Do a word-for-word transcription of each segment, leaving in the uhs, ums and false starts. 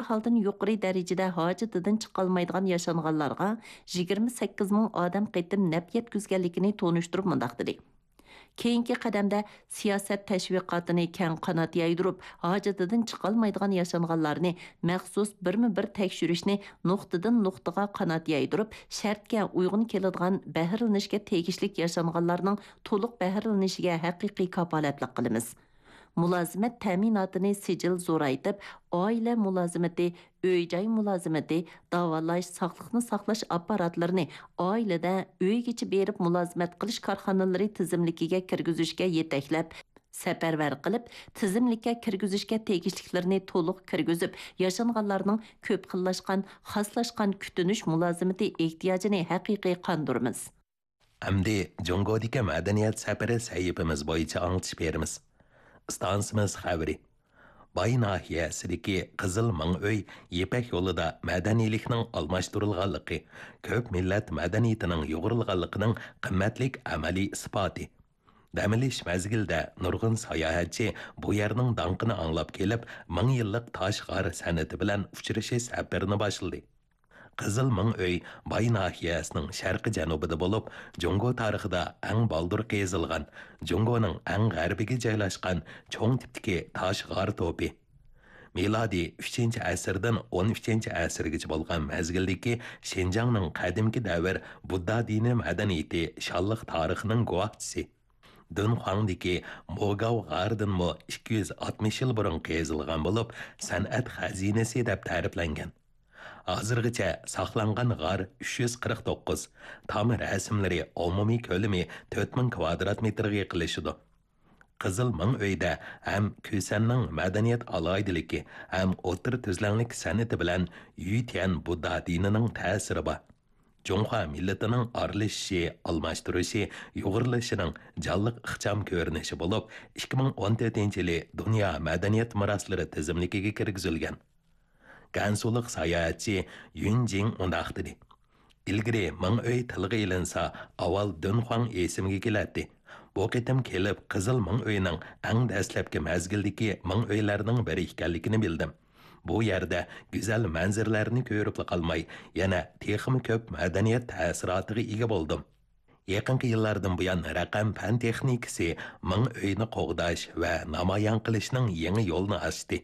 ئەھۋالدىن يۇقىرى دەرىجىدە ھاجىتىدىن چىقالمايدىغان ياشانغانلارغا يىگىرمە سەككىز مىڭ ئادەم قېتىم نەپ يەتكۈزگەنلىكىنى تونۇشتۇرۇپ مۇنداق دېدى: كېيىنكى قەدەمدە سىياسەت تەشۋىقاتىنى كەڭ قانات يايدۇرۇپ، ھاجىتىدىن چىقالمايدىغان ياشانغانلارنى مەخسۇس بىرمۇ بىر تەكشۈرۈشنى نۇقتىدىن نۇقتىغا قانات يايدۇرۇپ، شەرتكە ئۇيغۇن كېلىدىغان بەھرىلىنىشكە تېگىشلىك ياشانغانلارنىڭ تولۇق بەھرىلىنىشىگە ھەقىقىي كاپالەتلىك قىلىمىز. مۇلازىمەت تەمىناتىنى سىجىل زورايتىپ، ئائىلە مۇلازىمىتى، ئۆي-جاي مۇلازىمىتى، داۋالاش، ساقلىقنى ساقلاش ئاپپاراتلىرىنى ئائىلىدە، ئۆيگىچە بېرىپ مۇلازىمەت قىلىش كارخانىلىرى تىزىملىكىگە كىرگۈزۈشكە يېتەكلەپ، سەپەرۋەر قىلىپ، تىزىملىككە كىرگۈزۈشكە تېگىشلىكلىرىنى تولۇق كىرگۈزۈپ، ياشانغانلارنىڭ كۆپ خىللاشقان، خاسلاشقان كۈتۈنۈش مۇلازىمىتى ئېھتىياجىنى ھەقىقىي قاندۇرىمىز. ئەمدى جۇڭگودىكى مەدەنىيەت سەپىرى سەھىپىمىز بويىچە ئاڭلىتىش بېرىمىز. ئىستانسىمىز خەۋىرى. باي ناھىيەسىدىكى قىزىل مىڭ ئۆي يىپەك يولىدا مەدەنىيلىكنىڭ ئالماشتۇرۇلغانلىقى، كۆپ مىللەت مەدەنىيىتىنىڭ يۇغۇرۇلغانلىقىنىڭ قىممەتلىك ئەمەلىي ئىسپاتى. دەم ئېلىش مەزگىلىدە نۇرغۇن ساياھەتچى بۇ يەرنىڭ داڭقىنى ئاڭلاپ كېلىپ، مىڭ يىللىق تاش غار سەنئىتى بىلەن ئۇچرىشىش سەپىرىنى باشلىدى. قىزىل مىڭ ئۆي باي ناھىيەسىنىڭ شەرقىي جەنۇبىدا بولۇپ، جۇڭگو تارىخىدا ئەڭ بالدۇر قېزىلغان، جۇڭگونىڭ ئەڭ غەربىگە جايلاشقان چوڭ تىپتىكى تاش غار توپى. مىلادىي ئۈچىنچى ئەسىردىن ئون ئۈچىنچى ئەسىرگىچە بولغان مەزگىلدىكى شىنجاڭنىڭ قەدىمكى دەۋر بۇددا دىنى مەدەنىيىتى شانلىق تارىخىنىڭ گۇۋاھچىسى. دۇنخۇاڭدىكى موگاۋ غارىدىنمۇ ئىككى يۈز ئاتمىش يىل بۇرۇن قېزىلغان بولۇپ، سەنئەت خەزىنىسى دەپ تەرىپلەنگەن. ھازىرغىچە ساقلانغان غار ئۈچ يۈز قىرىق توققۇز، تام رەسىملىرى ئومۇمىي كۆلىمى تۆت مىڭ كۋادرات مېتىرغا يېقىنلىشىدۇ. قىزىل مىڭ ئۆيدە ھەم كۈسەننىڭ مەدەنىيەت ئالاھىدىلىكى، ھەم ئوتتۇرا تۈزلەڭلىك سەنئىتى بىلەن يۈتيەن بۇددا دىنىنىڭ تەسىرى بار. جۇڭخۇا مىللىتىنىڭ ئارىلىشىشى، ئالماشتۇرۇشى، يۇغۇرۇلۇشىنىڭ جانلىق ئىخچام كۆرۈنۈشى بولۇپ، ئىككى مىڭ ئون تۆتىنچى يىلى دۇنيا مەدەنىيەت مىراسلىرى تىزىملىكىگە كىرگۈزۈلگەن. گەنسۇلۇق ساياھەتچى يۈن جىڭ مۇنداق دېدى: ئىلگىرى مىڭ ئۆي تىلغا ئېلىنسا، ئاۋۋال دۇنخۇاڭ ئېسىمگە كېلەتتى. بۇ قېتىم كېلىپ، قىزىل مىڭ ئۆينىڭ ئەڭ دەسلەپكى مەزگىلدىكى مىڭ ئۆيلەرنىڭ بىرى ئىكەنلىكىنى بىلدىم. بۇ يەردە گۈزەل مەنزىرىلەرنى كۆرۈپلا قالماي، يەنە تېخىمۇ كۆپ مەدەنىيەت تەسىراتىغا ئىگە بولدۇم. يېقىنقى يىللاردىن بۇيان، رەقەم پەن تېخنىكىسى مىڭ ئۆينى قوغداش ۋە نامايان قىلىشنىڭ يېڭى يولىنى ئاچتى.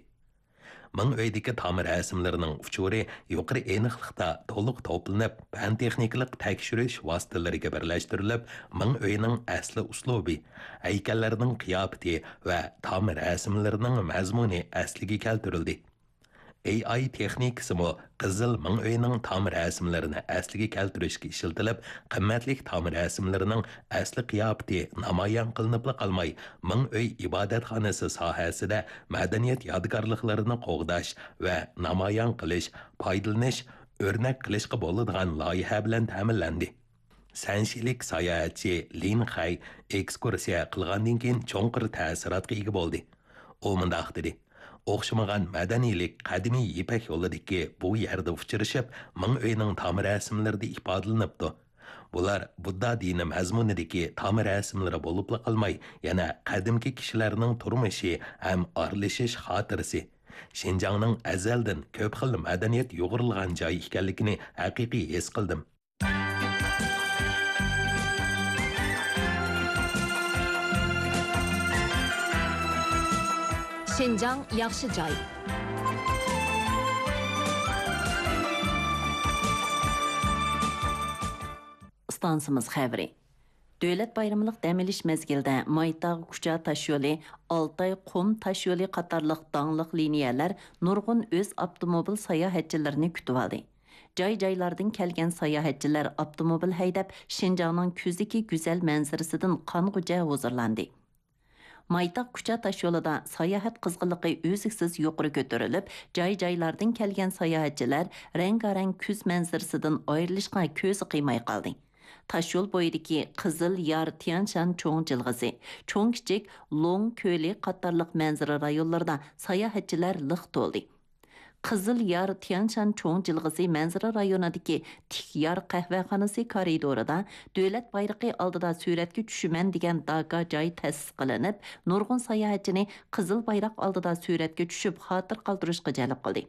مىڭ ئۆيدىكى تام رەسىملىرىنىڭ ئۇچۇرى يۇقىرى ئېنىقلىقتا تولۇق توپلىنىپ، پەن تېخنىكىلىق تەكشۈرۈش ۋاسىتىلىرىگە بىرلەشتۈرۈلۈپ، مىڭ ئۆينىڭ ئەسلى ئۇسلۇبى، ھەيكەللەرنىڭ قىياپىتى ۋە تام رەسىملىرىنىڭ مەزمۇنى ئەسلىگە كەلتۈرۈلدى. ئېي ئاي تېخنىكىسىمۇ قىزىل مىڭ ئۆينىڭ تام رەسىملىرىنى ئەسلىگە كەلتۈرۈشكە ئىشلىتىلىپ، قىممەتلىك تام رەسىملىرىنىڭ ئەسلى قىياپىتى نامايان قىلىنىپلا قالماي، مىڭ ئۆي ئىبادەتخانىسى ساھەسىدە مەدەنىيەت يادىكارلىقلىرىنى قوغداش ۋە نامايان قىلىش، پايدىلىنىش، ئۆرنەك قىلىشقا بولىدىغان لايىھە بىلەن تەمىنلەندى. سەنشىلىك ساياھەتچى لىن خەي ئېكسكۇرسىيە قىلغاندىن كېيىن چوڭقۇر تەسىراتقا ئىگە بولدى. ئۇ مۇنداق دېدى: ئوخشىمىغان مەدەنىيلىك قەدىمىي يىپەك يولىدىكى بۇ يەردە ئۇچرىشىپ، مىڭ ئۆينىڭ تام رەسىملىرىدە ئىپادىلىنىپتۇ. بۇلار بۇددا دىنى مەزمۇنىدىكى تام رەسىملىرى بولۇپلا قالماي، يەنە قەدىمكى كىشىلەرنىڭ تۇرمۇشى ھەم ئارىلىشىش خاتىرىسى، شىنجاڭنىڭ ئەزەلدىن كۆپ خىل مەدەنىيەت يۇغۇرۇلغان جاي ئىكەنلىكىنى ھەقىقىي ھېس قىلدىم. شىنجاڭ ياخشى جاي. ئىستانسىمىز خەۋىرى. دۆلەت بايرىملىق دەم ئېلىش مەزگىلىدە مايتاغ كۇچا تاشيولى، ئالتاي قۇم تاشيولى قاتارلىق داڭلىق لىنىيەلەر نۇرغۇن ئۆز ئاپتوموبىل ساياھەتچىلىرىنى كۈتۈۋالدى. جاي-جايلاردىن كەلگەن ساياھەتچىلەر ئاپتوموبىل ھەيدەپ، شىنجاڭنىڭ كۈزدىكى گۈزەل مەنزىرىسىدىن قانغۇچە ھۇزۇرلاندى. مايتاغ كۇچا تاشيولىدا ساياھەت قىزغىنلىقى ئۈزلۈكسىز يۇقىرى كۆتۈرۈلۈپ، جاي-جايلاردىن كەلگەن ساياھەتچىلەر رەڭگارەڭ كۈز مەنزىرىسىدىن ئايرىلىشقا كۆزى قىيماي قالدى. تاشيول بويىدىكى قىزىل يار، تيەنشان چوڭ جىلغىسى، چوڭ-كىچىك لوڭ كۆلى قاتارلىق مەنزىرە رايونلىرىدا ساياھەتچىلەر لىق تولدى. قىزىل يار، تيەنشان چوڭ جىلغىسى مەنزىرە رايونىدىكى تىك يار قەھۋەخانىسى كارىدورىدا دۆلەت بايرىقى ئالدىدا سۈرەتكە چۈشىمەن دېگەن داكا جاي تەسىس قىلىنىپ، نۇرغۇن ساياھەتچىنى قىزىل بايراق ئالدىدا سۈرەتكە چۈشۈپ خاتىرە قالدۇرۇشقا جەلپ قىلدى.